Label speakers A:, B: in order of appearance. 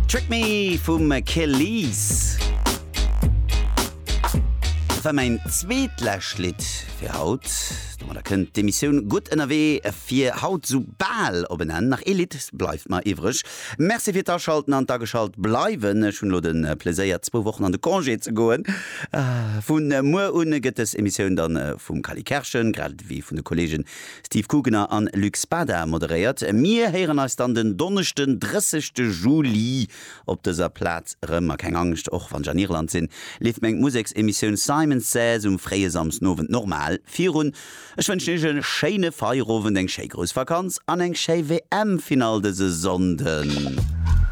A: Trick Me vum Kelis. Dat war mäin zweetlescht Lidd fir haut. Domadder kënnt d'Emissioun Gutt ënnerwee fir haut sou bal op en Enn. Nach ee Lidd bleift mer iwwreg. Merci fir d'Aschalten an d'Ageschalt bleiwen. Ech hunn elo de Pleséier zwou Wochen an de Congé ze goen. Vun muer un gëtt dës Emissioun dann vum Cally Kerschen, grad ewéi vun de Kollegen Steve Kugener an Luc Spada moderéiert. Mir héieren eis dann den Donneschden 30 Juli op dëser Plaz erëm. A keng Angscht, och wann ech an Irland sinn, leeft meng Museksemissioun Simon Says um fréie Samsdenowend normal virun. Ech wënschen iech e schéine Feierowend, eng schéi grouss Vakanz an eng schéi WM-Finall dëse Sonnden.